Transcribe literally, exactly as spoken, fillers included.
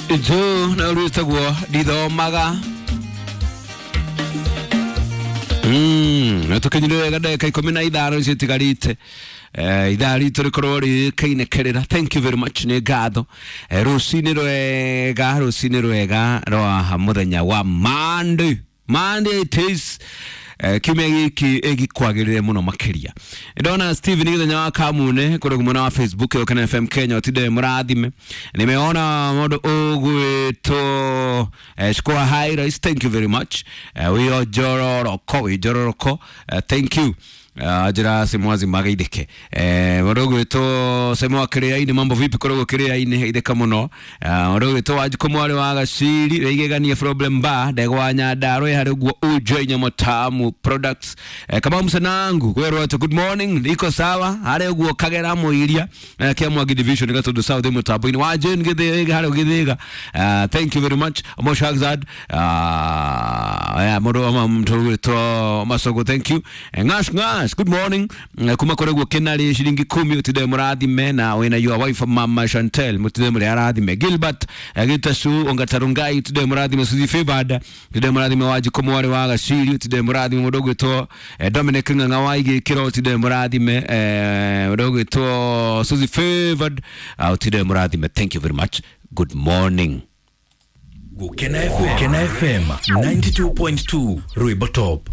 Nju na rwĩtagwo ndithomaga. Mm, na tũkinyire wega ndagĩka ikũmi na ithano icio itigarĩte eh, ithaa ritũ rĩkorwo rĩkĩinĩkĩrĩra. Thank you very much, nĩ ngatho. eh, rũcinĩ rwega, rũcinĩ rwega rwa mũthenya wa Monday. Monday it is. eh, kiumia gĩkĩ ĩgĩkwagĩrĩre mũno makĩria. Ndona Steven gĩthenya wa Kamune kũrĩ mwena wa Facebook Gũkena F M Kenya, ũtinde mũrathime. Nimeona mũndũ ũgwĩtwo eh, Shukua High Rice, thank you very much. eh, wĩo njororoko, wĩ njororoko, eh, thank you. Uh, njĩra simwazi magaithĩke. eh, mũndũ ũgwĩtwo Semo wa Kĩrĩa-inĩ, mambo vipi kũrĩ Kĩrĩa-inĩ, geithĩka mũno. Mũndũ ũgwĩtwo Wanjikũ mwarĩ wa Gaciri wĩigeganie problem bar ndegwa Nyandarua harĩ ũguo Ujo Nyama Tamu Products. eh, Kamau Msanangu kwĩrwo atĩ good morning, niko sawa harĩ ũguo Kagera Mũiria eh, kia Mwangi Division Gatundu South mũtambo-inĩ wa Jane Gĩthĩga harĩ Gĩthĩga. uh, thank you very much Mo Shahzad. uh, yeah, mũndũ wa mũndũ ũgwĩtwo Masogo, thank you. eh, ngash ngash, good morning. Eh, kuma kũrĩ guo Kĩnarĩ ciringi kumi, ũtinde mũrathime na wĩna your wife Mama Chantel, mũtinde mũrĩ arathime. Gilbert eh, Gitasu Ongatarungai, ũtinde mũrathime. Suzy Favored, ũtinde mũrathime. Wanjikũ mwarĩ wa Gaciri, ũtinde mũrathime. Mũndũ ũgwĩtwo eh, Dominic Ng'ang'a wa Igĩkĩro, ũtinde mũrathime. eh, mũndũ ũgwĩtwo Suzy Favored, uh, ũtinde mũrathime. Thank you very much, good morning. Gũkena F M, Gũkena F M ninety-two point two Rwĩmbo Top.